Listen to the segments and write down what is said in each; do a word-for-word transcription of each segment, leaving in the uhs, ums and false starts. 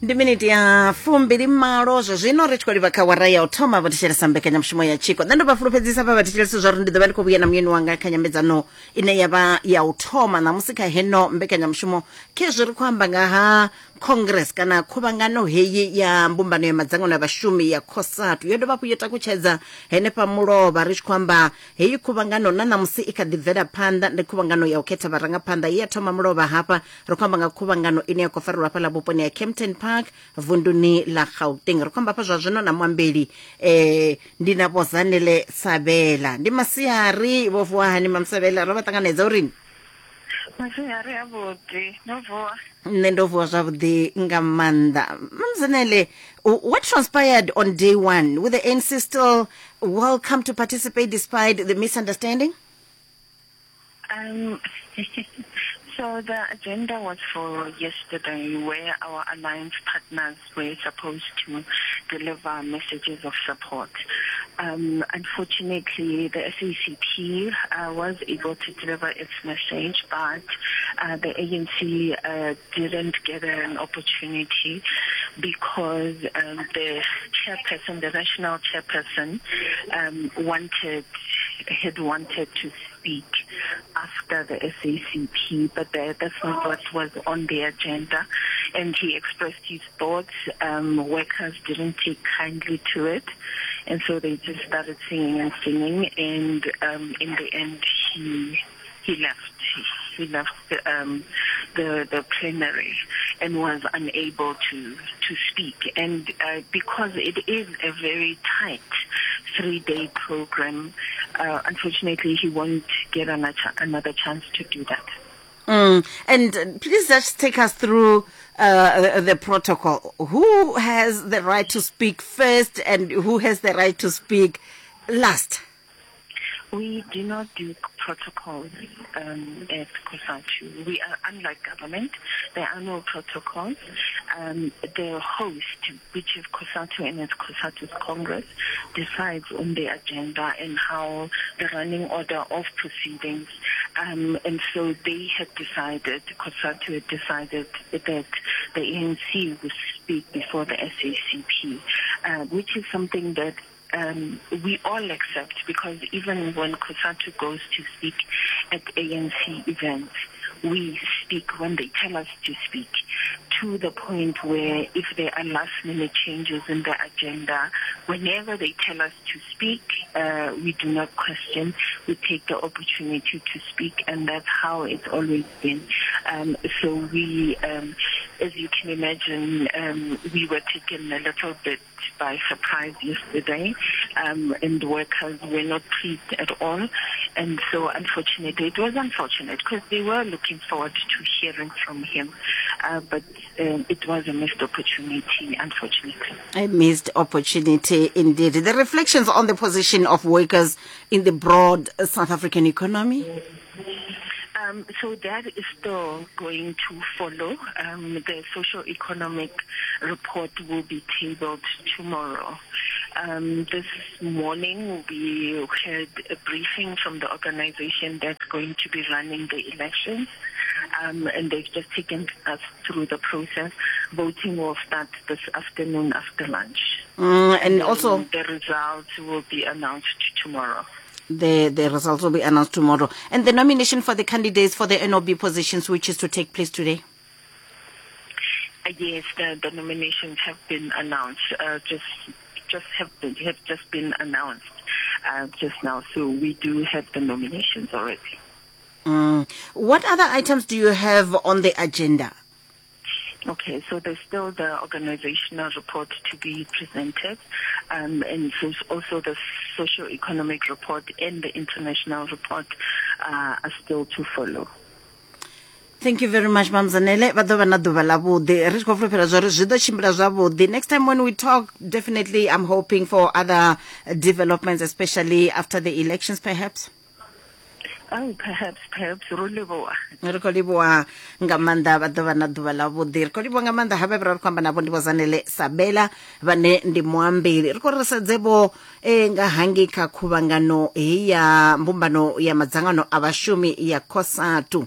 Ndi miniti ya fumbili malo zwa zwino ri tshi khou livha kha wara ya u thoma vho thetshelesa mbekanyamushumo ya Tshiko. Nṋe ndo vha fulufhedzisa vha vha thetshelesi zwa uri ndi ḓo vha ndi khou vhuya na muyeni wanga kha nyambedzano ine ya vha ya u thoma ṋamusi kha heno mbekanyamushumo. Khezwi ri khou amba nga ha congress kana khuvhangano heyi ya mbumbano ya madzangano ya vhashumi ya COSATU yo dovha hafhu yo takutshedza henefha mulovha. Ri tshi khou amba heyi khuvhangano na ṋamusi i kha ḓi bvela phanḓa, ndi khuvhangano ya u khetha vharangaphanḓa ye ya thoma mulovha hafha. Ri khou amba nga khuvhangano ine ya khou farelwa hafhaḽa vhuponi ha Kempton Park vunduni ḽa Gauteng. Ri khou amba hafha zwa zwino na muambeli eh, ndi na Vho Zanele Sabela. Ndi masiari, vho vuwa hani Mamsabela? Ro vha ṱanganedza uri Masiari avhuḓi, no vuwa? Nṋe ndo vuwa zwavhuḓi nga maanḓa. Mamzanele, what transpired on day one? With the A N C still welcome to participate despite the misunderstanding? Um, so the agenda was for yesterday, where our alliance partners were supposed to deliver messages of support. Um, unfortunately, the S A C P uh, was able to deliver its message, but uh, the A N C uh, didn't get an opportunity because um, the chairperson, the national chairperson, um, wanted had wanted to speak after the S A C P, but the, that's not what was on the agenda. And he expressed his thoughts. Um, workers didn't take kindly to it, and so they just started singing and singing, and um, in the end he he left. He left the, um, the, the plenary and was unable to, to speak. And uh, because it is a very tight three-day program, uh, unfortunately he won't get another, another chance to do that. Mm. And please just take us through uh, the protocol. Who has the right to speak first and who has the right to speak last? We do not do protocols um, at COSATU. We are unlike government. There are no protocols. Um, the host, which is COSATU and its COSATU's Congress, decides on the agenda and how the running order of proceedings. Um, and so they had decided, COSATU had decided that the A N C would speak before the S A C P, uh, which is something that Um, we all accept, because even when COSATU goes to speak at A N C events, we speak when they tell us to speak, to the point where if there are last-minute changes in the agenda, whenever they tell us to speak, uh, we do not question. We take the opportunity to speak, and that's how it's always been. Um, so we, um, as you can imagine, um, we were taken a little bit by surprise yesterday, um, and workers were not pleased at all. And so, unfortunately, it was unfortunate because they were looking forward to hearing from him, uh, but um, it was a missed opportunity, unfortunately. A missed opportunity indeed. The reflections on the position of workers in the broad South African economy? Um, so that is still going to follow. Um, the socio-economic report will be tabled tomorrow. Um, this morning we had a briefing from the organization that's going to be running the elections, um, and they've just taken us through the process. Voting will start this afternoon after lunch. Mm, and, and also the results will be announced tomorrow. The, the results will be announced tomorrow. And the nomination for the candidates for the N O B positions, which is to take place today? Uh, yes, the, the nominations have been announced. Uh, just just have been, have just been announced uh, just now. So we do have the nominations already. Mm. What other items do you have on the agenda? Okay, so there's still the organizational report to be presented, um, and so also the socio-economic report and the international report uh, are still to follow. Thank you very much, Mam Zanele. Vha ḓo vha na ḓuvha ḽavhuḓi. Ri tshi khou fulufhela zwa uri zwi ḓo tshimbila zwavhuḓi. Next time when we talk, definitely I'm hoping for other developments, especially after the elections, perhaps. Oh, perhaps, perhaps, ro livhuwa. Ri khou livhuwa nga maanḓa, vha ḓo vha na ḓuvha ḽavhuḓi. Ri khou livhuwa nga maanḓa havha vhe ra ri khou amba navho ndi Vho Zanele Sabela vhane ndi muambeli. Ri khou ri sedze vho eh, nga hangei kha khuvhangano heyi ya mbumbano ya madzangano a vhashumi ya COSATU.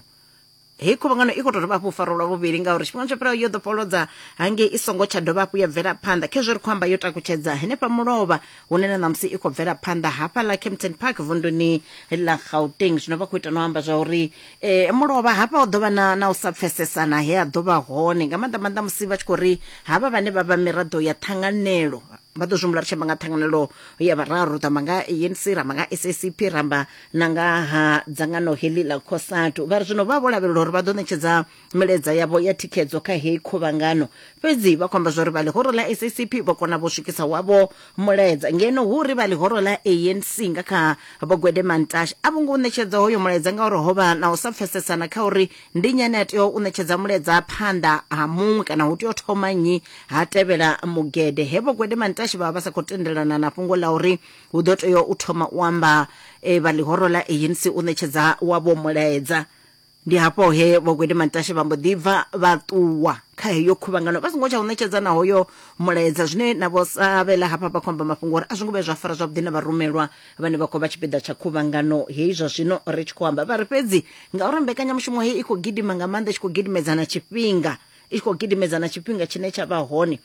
Hei khuvhangano i khou tou dovha hafhu u farwa lwa vhuvhili ngauri tshifhinga tsho fhiraho yo ḓo fholodza hangei i songo tsha dovha hafhu ya bvela phanḓa. Khezwo ri khou amba yo takutshedza henefha mulovha hune na ṋamusi i khou bvela phanḓa hafhaḽa Kempton Park vunduni ḽa Gauteng. Zwino vha khou ita no amba zwa uri eh, mulovha hafha ho ḓo vha na, na u sa pfesesana he a ḓo vha hone nga maanḓa maanḓa musi vha tshi khou ri havha vhane vha vha miraḓo ya ṱhanganelo vha ḓo zwi humbula ri tshi amba nga ṱhanganelo ya vhararu, ri amba nga A N C, ra amba nga S A C P, ra amba na nga ha dzangano heḽi ḽa COSATU. Vha ri zwino vha vho lavhelela uri vha ḓo ṋetshedza milaedza yavho ya thikhedzo kha heyi khuvhangano, fhedzi vha khou amba zwa uri vha ḽihoro ḽa S A C P vho kona vho swikisa wavho mulaedza, ngeno hu uri vha ḽihoro ḽa A N C nga kha Vho Gwede Mantashe a vho ngo u ṋetshedza hoyo mulaedza ngauri ho vha na u sa pfesesana kha uri ndi nnyi ane a tea u ṋetshedza mulaedza phanḓa ha muṅwe kana hu tea u thoma nnyi ha tevhela Mugede. He Vho Gwede Mantashe vha vha sa khou tendelana na fhungo ḽa uri hu ḓo tea u thoma u amba e, vha ḽihoro ḽa A N C u ṋetshedza wavho mulaedza. Ndi hafho he Vho Gwede Mantashe vha mbo ḓi bva vha ṱuwa kha heyo khuvhangano vha songo tsha u ṋetshedza na hoyo mulaedza, zwine na vho savhela hafha vha khou amba mafhungo uri a zwi ngo vhuya zwa fara zwavhuḓi na vharumelwa vhane vha khou vha tshipiḓa tsha khuvhangano heyi zwa zwino ri tshi khou amba. Vha ri fhedzi ngauri mbekanyamushumo heyi i khou gidima nga maanḓa, i tshi khou gidimedzana tshifhinga, i tshi khou gidimedzana tshifhinga tshine tsha vha hone,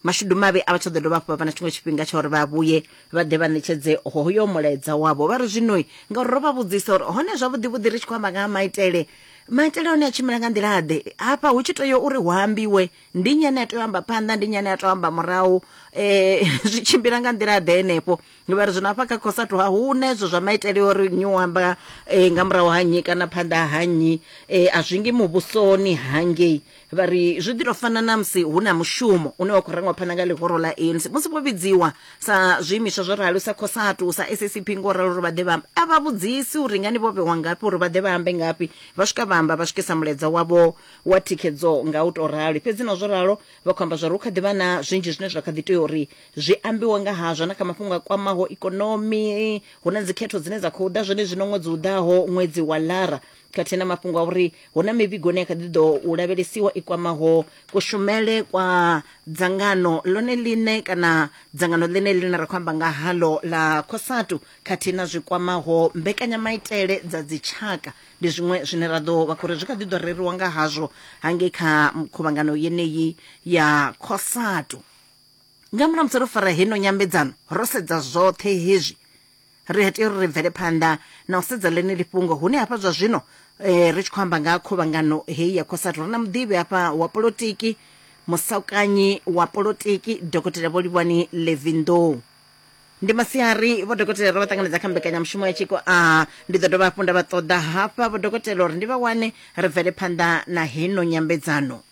mashudu mavhi a vha tsha ḓo dovha hafhu vha vha na tshiṅwe tshifhinga tsha uri vha vhuye vha ḓe vha ṋetshedze hoyo mulaedza wavho. Vha ri zwino ngauri ro vha vhudzisa uri hone zwavhuḓi vhuḓi ri tshi khou amba nga ha maitele, maitele one a tshimbila nga nḓila ḓe hafha hu tshi tea uri hu ambiwe ndi nnyi ane a tea u amba phanḓa, ndi nnyi ane a tea u amba murahu, eh, zwi tshimbila nga nḓila ḓe henefho. Vha ri zwino hafha kha COSATU ha hu na ezwo zwa maitele uri nnyi u amba eh, nga murahu ha nnyi kana phanḓa ha nnyi, eh, a zwi ngi muvhusoni hangei. Vha ri zwi ḓi tou fana na musi hu na mushumo une wa khou rangwa phanḓa nga ḽihoro ḽa A N C musi vho vhidziwa sa zwiimiswa zwo ralo sa COSATU sa S A C P ngo ralo uri vha ḓe vha ambe, a vha vhudzisi uri ngani vho vhewa ngafhi uri vha ḓe vha ambe ngafhi, vha swika vha amba vha swikisa mulaedza wavho wa thikhedzo nga u tou ralo. Fhedzi na zwo ralo vha khou amba zwa uri hu kha ḓi vha na zwinzhi zwine zwa kha ḓi tea uri zwi ambiwe nga hazwo na kha mafhungo a kwamaho ikonomi, hu na dzikhetho dzine dza khou ḓa zwone zwino ṅwedzi u ḓaho ṅwedzi wa Lara, khathihi na mafhungo a uri hu na mivhigo ine ya kha ḓi ḓo u lavhelesiwa i kwamaho kushumele kwa dzangano ḽone ḽine kana dzangano ḽine ḽine ra khou amba nga halo ḽa COSATU, khathihi na zwi kwamaho mbekanyamaitele dza dzitshaka. Ndi zwiṅwe zwine ra ḓo vha khou ri zwi kha ḓi ḓo reriwa nga hazwo hangei kha khuvhangano yeneyi ya COSATU. Nga murahu musi ro fara heno nyambedzano ro sedza zwoṱhe hezwi, ri tea uri ri bvele phanḓa na u sedza ḽeneḽi fhungo hune hafha zwa zwino eh, ri tshi khou amba nga khuvhangano heyi ya COSATU. Ri na muḓivhi hafha wa polotiki, musaukanyi wa polotiki Dokotela Vho Livhuwani Levy Ndou. Ndi masiari vho dokotela, ro vha ṱanganedza kha mbekanyamushumo ya tshiko. A ndi ḓo dovha hafhu nda vha ṱoḓa hafha vho dokotela uri ndi vha wane ri bvele phanḓa na heno nyambedzano.